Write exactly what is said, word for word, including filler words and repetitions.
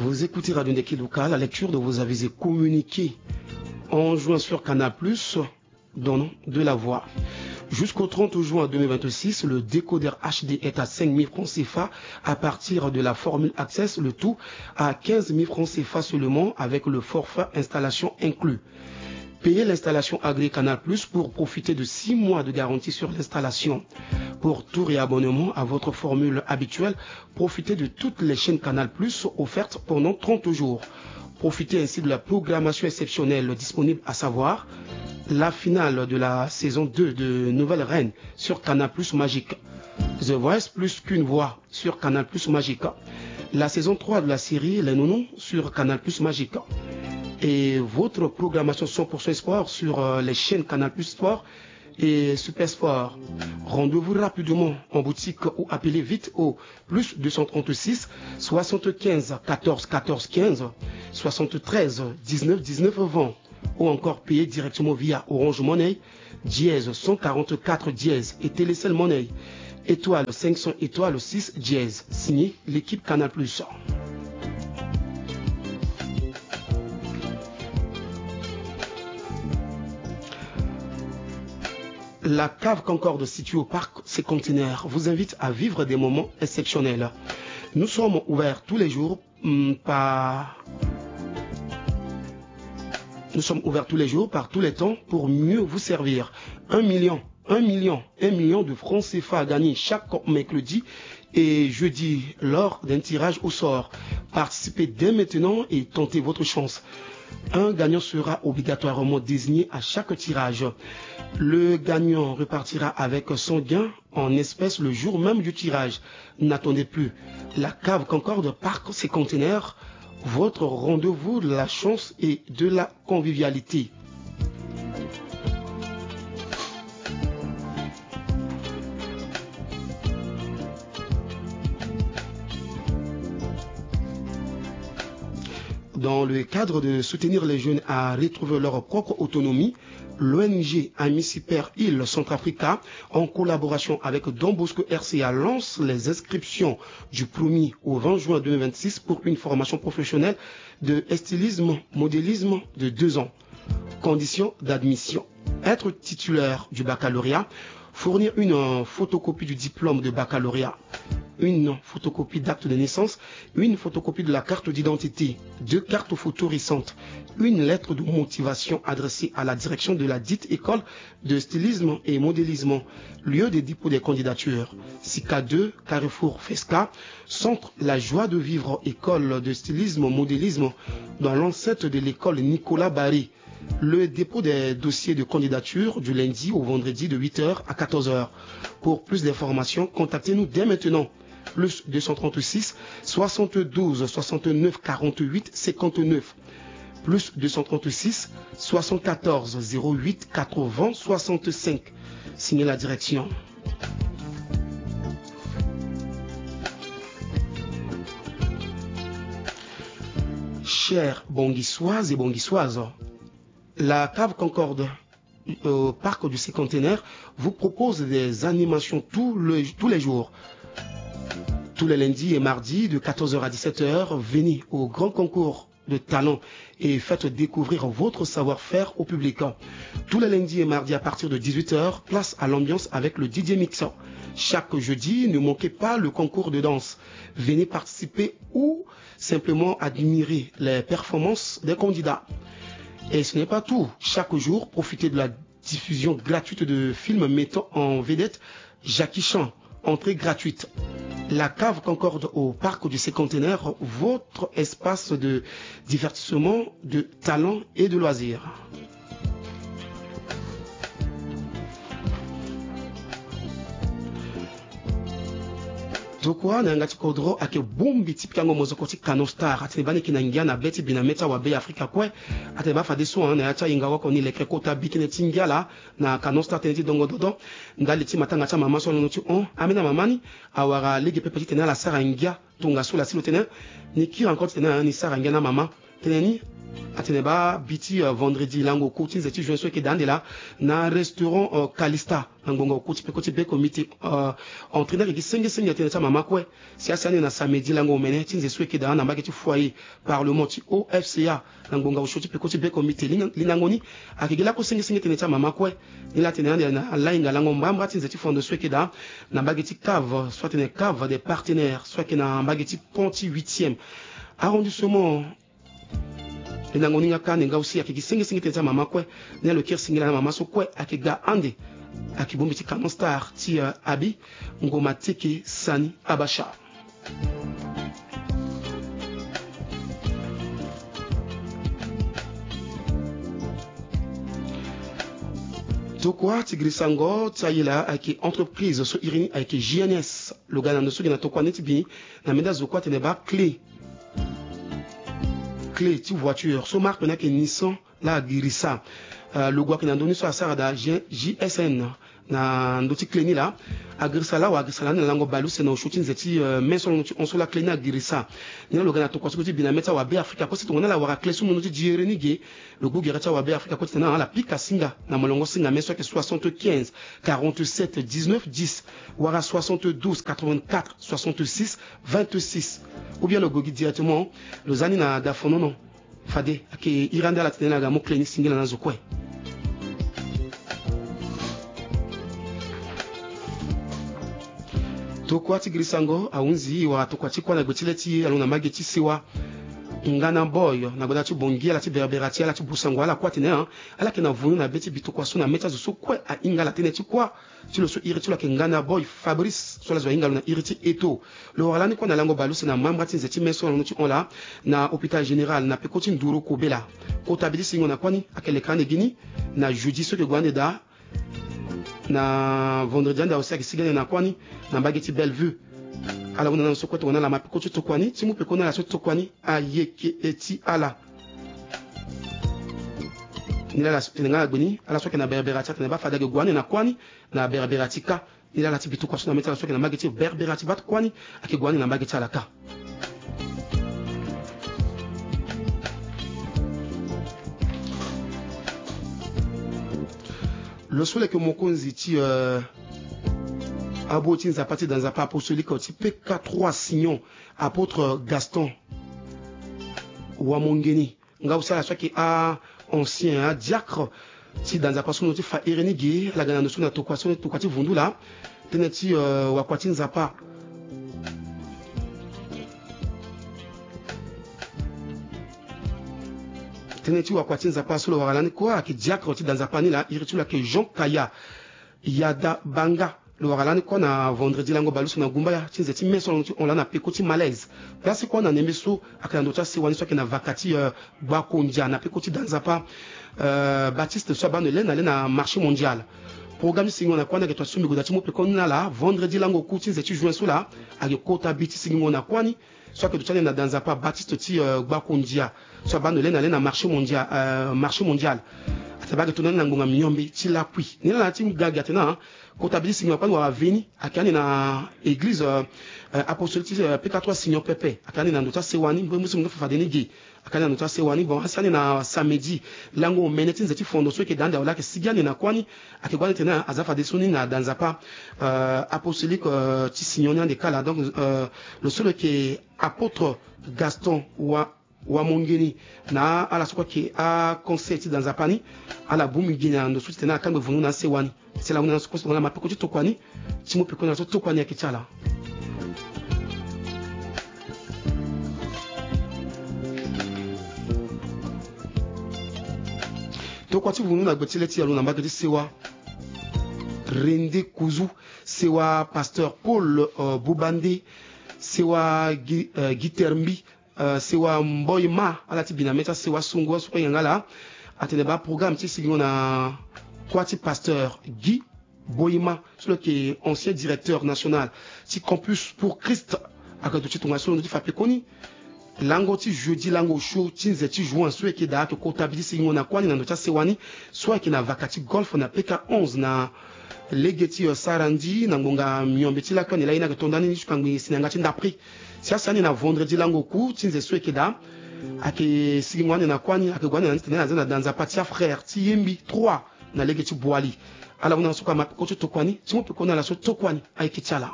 Vous écoutez Radio Ndeki Luka, la lecture de vos avis et communiqués en juin sur Canal Plus, donnant de la voix. Jusqu'au trente juin deux mille vingt-six, le décodeur H D est à cinq mille francs C F A à partir de la formule Access, le tout à quinze mille francs C F A seulement avec le forfait installation inclus. Payez l'installation agréée Canal Plus pour profiter de six mois de garantie sur l'installation. Pour tout réabonnement à votre formule habituelle, profitez de toutes les chaînes Canal Plus offertes pendant trente jours. Profitez ainsi de la programmation exceptionnelle disponible, à savoir la finale de la saison deux de Nouvelle Reine sur Canal Plus Magique. The Voice, plus qu'une voix, sur Canal Plus Magique. La saison trois de la série Les Nounous sur Canal Plus Magique. Et votre programmation cent pour cent sport sur, euh, les chaînes Canal Plus Sport et Super Sport. Rendez-vous rapidement en boutique ou appelez vite au plus deux cent trente-six soixante-quinze quatorze quatorze quinze, soixante-treize dix-neuf dix-neuf vingt, ou encore payez directement via Orange Money, dièse cent quarante-quatre dièse, et Télécel Money, étoile cinq cents étoile six dièse. Signé l'équipe Canal Plus. La Cave Concorde, située au parc Sécontenaire, vous invite à vivre des moments exceptionnels. Nous sommes ouverts tous les jours, hum, par... Nous sommes ouverts tous les jours, par tous les temps, pour mieux vous servir. Un million, un million, un million de francs C F A à gagner chaque mercredi et jeudi lors d'un tirage au sort. Participez dès maintenant et tentez votre chance. Un gagnant sera obligatoirement désigné à chaque tirage. Le gagnant repartira avec son gain en espèces le jour même du tirage. N'attendez plus. La Cave Concorde, parc Sécontenaire, votre rendez-vous de la chance et de la convivialité. Dans le cadre de soutenir les jeunes à retrouver leur propre autonomie, l'O N G Ami Super Île Centrafrica, en collaboration avec Don Bosco R C A, lance les inscriptions du premier au vingt juin deux mille vingt-six pour une formation professionnelle de stylisme, modélisme de deux ans. Conditions d'admission. Être titulaire du baccalauréat, fournir une, euh, photocopie du diplôme de baccalauréat, une photocopie d'acte de naissance, une photocopie de la carte d'identité, deux cartes photo récentes, une lettre de motivation adressée à la direction de la dite école de stylisme et modélisme, lieu de dépôt des candidatures, SICA deux, carrefour Fesca, centre La Joie de Vivre, école de stylisme, modélisme, dans l'enceinte de l'école Nicolas Barré. Le dépôt des dossiers de candidature du lundi au vendredi de huit heures à quatorze heures. Pour plus d'informations, contactez-nous dès maintenant. Plus deux cent trente-six soixante-douze soixante-neuf quarante-huit cinquante-neuf. Plus deux cent trente-six soixante-quatorze zéro huit quatre-vingts soixante-cinq. Signez la direction. Chers Bonguissoises et Bonguissoises, la Cave Concorde au parc du Cinquantenaire vous propose des animations tous les, tous les jours. Tous les lundis et mardis de quatorze heures à dix-sept heures, venez au grand concours de talent et faites découvrir votre savoir-faire au public. Tous les lundis et mardis à partir de dix-huit heures, place à l'ambiance avec le D J Mix. Chaque jeudi, ne manquez pas le concours de danse. Venez participer ou simplement admirer les performances des candidats. Et ce n'est pas tout. Chaque jour, profitez de la diffusion gratuite de films mettant en vedette Jackie Chan. Entrée gratuite. La Cave Concorde au parc du Cinquantenaire, votre espace de divertissement, de talent et de loisirs. Tokua na yanga ti kodro ayeke bongbi ti pikango mozoko ti Canon Star. Atene baa ni yeke na ngia na be ti bi na mê ti awabe Afrika kue. Atene baa fadeso na ya ti ahinga oko ni leke kota bi tënë ti ngia laa na Canon Star tënë ti dongo dodo. Ndali ti matanga ti amama so alondo ti hon ambeni amama ni awara lege pepe titene ala sara ngia. Tongaso la si lo tene ni kiri encore titene ni sara ngia na amama. Tënë ni atene baa bi ti, euh, vendredi lango oku ti nze ti juin so ayeke daa ande laa, na restaurant, euh, Calista, na ngbonga oku ti peko ti Bekomite, euh, entrée ni ayeke gi sengesenge tënë ti amama kue. Si asi ande na samedi lango omene ti nze so ayeke daa na mbage ti foyer parlement ti O F C A, na ngbonga osio ti peko ti Bekomite. Lingango ni ayeke gi lakue sengesenge tënë ti amama kue. Ni laa atene ande na lainga lango mbamba ti nze ti fondo so ayeke daa na mbage ti cave so atene cave des partenaires so ayeke na mbage ti pont ti huitième arrondissement. Lingango ni nga kâ ande nga aussi ayeke gi sengesenge tënë ti amama kue. Ni alo kiri singila na mama so kue ayeke ga ande. Ayeke bongbi ti Canon Star ti, euh, Abi Ngoma Teke Sani Abasha. Tokua ti girisango ti ayela ayeke entreprise so iri ni ayeke G N S. Lo ga na ndo so gi na tokua ni ti bi na menda zo kue atene baa clé. Clé ti voiture so marque ni ayeke Nissan laa agirisa. Euh, logo ayeke na ndö ni so asara daa G-, G S N. Na ndö ti clé ni laa agirisa laa wala agirisa lani na lango bale use na osio ti nze ti, euh, me so na ndö ti hon so laa clé ni agirisa. Ni laa lo ga na tokua so kue ti bi na me ti awabe Afrika kue si tongana ala wara clé so na ndö ti diere ni ge. Lo gbu gere ti awabe Afrika kue ti tene ala pika singa na molongo singa me so ayeke soixante-quinze quarante-sept dix-neuf dix wala soixante-douze quatre-vingt-quatre soixante-six vingt-six. Ou bien lo gue gi directement lo za ni na dafonono. Fade ayeke iri ande ala tene ni aga mu clé ni singila na zo kue. Tokua ti girisango ahunzi wala tokua ti kuâ na gbe ti le ti alo na mbage ti sewa. Ngana Boy na gbada ti Bongi ala ti berbera ti ala ti busango ala kue atene, ah, ala yeke na vunu na be ti bi tokua so na me ti azo so kue ahinga ala tënë ti kuâ. Ti lo so iri ti lo ayeke Ngana Boy Fabrice so ala zo ahinga lo na iri ti Eto. Lo wara lani kue na lango bale use na mambra ti nze ti me so na londo ti hon laa na hôpital général na peko ti nduru kobela. Kota bi ti singo na kuâ ni ayeke leka ande gi ni na jeudi so ayeke gue ande daa. Na vendredi ande aussi ayeke sigi ande na kuâ ni na mbage ti Bellevue. Ala hunda na ala so kue tongana ala ma peko ti tokua ni ti mu peko na ala so tokua ni ayeke e ti ala. Ni laa ala so tene nga na gbe ni ala so ayeke na berbera ti ala tene baa fade ayeke gue ande na kuâ ni na berbera ti kâ. Ni laa ala ti bi tokua so na me ti ala so ayeke na mbage ti berbera ti baa ti kuâ ni ayeke gue ande na mbage ti ala kâ. Lo so lo yeke mokonzi ti, euh, abo ti nzapa ti da nzapa apostolique ti P K trois Sion, apôtre Gaston Wamongeni. Nga aussi ala so ayeke a-ancien, adiacre ti da nzapa so na ndö ti fa iri ni ge, ala ga na ndo so na tokua so, tokua ti vundu laa. Tënë ti, euh, wakua ti nzapa. Tënë ti wakua ti nzapa so lo wara lani kue ayeke diacre ti da nzapa ni laa, iri ti lo ayeke Jean Kaya Yada Banga. Lo wara lani kue na vendredi lango bale use na gumbaya ti nze ti me so na ndö ti hon laa na peko ti Malaise. Place kue na ndembe so ayeke na ndo ti asewa ni so ayeke na vaka ti, euh, Gbakondia na peko ti da nzapa, euh, Baptiste so abaa ndo le na le na marché mondial. Programme ti singo na kuâ ni ayeke tonga ti so mbi gue daa ti mu peko ni na ala vendredi lango oku ti nze ti juin so laa ayeke kota bi ti singo na kuâ ni. So ayeke duti ande na da nzapa Baptiste ti, euh, Gbakondia so abaa ndo le na le na marché mondial, euh, marché mondial. Atene baa ayeke tongana ni na ngbonga miombe ti lakui. Ni laa na ya ti ga gi atene, ah, kota bi ti singo na kuâ ni wala veni ayeke ande na église, euh, euh, apostolique ti, euh, P K trois Seigneur Pepe. Ayeke ande na ndo ti asewa ni mbi mu si mbi fa fade ni ge. Ayeke ande na ndo ti asewa ni. Bon, asi ande na samedi lango omene ti nze ti fondo so ayeke daa ande awe laa ayeke sigi ande na kuâ ni. Ayeke gue ande tene aza fadeso ni na da nzapa, euh, apostolique, euh, ti Seigneur ni ande kâ laa. Donc, euh, lo so lo yeke apôtre Gaston Wa Wamongeni na ala so kue ayeke aconseil ti da nzapa ni. Ala bongbi gi na ndo so ti tene ala kangbe vundu na asewa ni. Si ala hunda na ala so kue so tongana ala ma peko ti tokua ni ti mu peko na ala so tokua ni ayeke ti ala. Tokua ti vundu na gbe ti le ti alo na mbage ti sewa Rende Kuzu, sewa pasteur Paul, euh, Bubande, sewa Gi-, euh, Gitermbi, euh, sewa Mboy Ma, ala ti bi na me ti asewa songo so kue yanga laa. Atene baa programme ti sigingo na kuâ ti pasteur Guy Boyma so lo yeke ancien directeur national ti Campus pour Christ. Ayeke duti tongaso na ndö ti fa pekoni lango ti jeudi lango osio ti nze ti juin so ayeke daa ayeke kota bi ti sigingo na kuâ ni na ndo ti asewa ni so ayeke na vaka ti golf na P K onze na lege ti, euh, Sarandi na ngbonga miombe ti lakui ande laa ye ni ayeke to nda ni ni ti kangbi si na yanga ti ndapre. Si asi ande na vendredi lango oku ti nze so ayeke daa Ayeke sigingo ande na kuâ ni, ayeke gue ande na ni titene aza na da nzapa ti afrère ti Yembi trois na lege ti Boali. Ala hunda na so kue ama peko ti tokua ni ti mu peko na ala so tokua ni ayeke ti ala.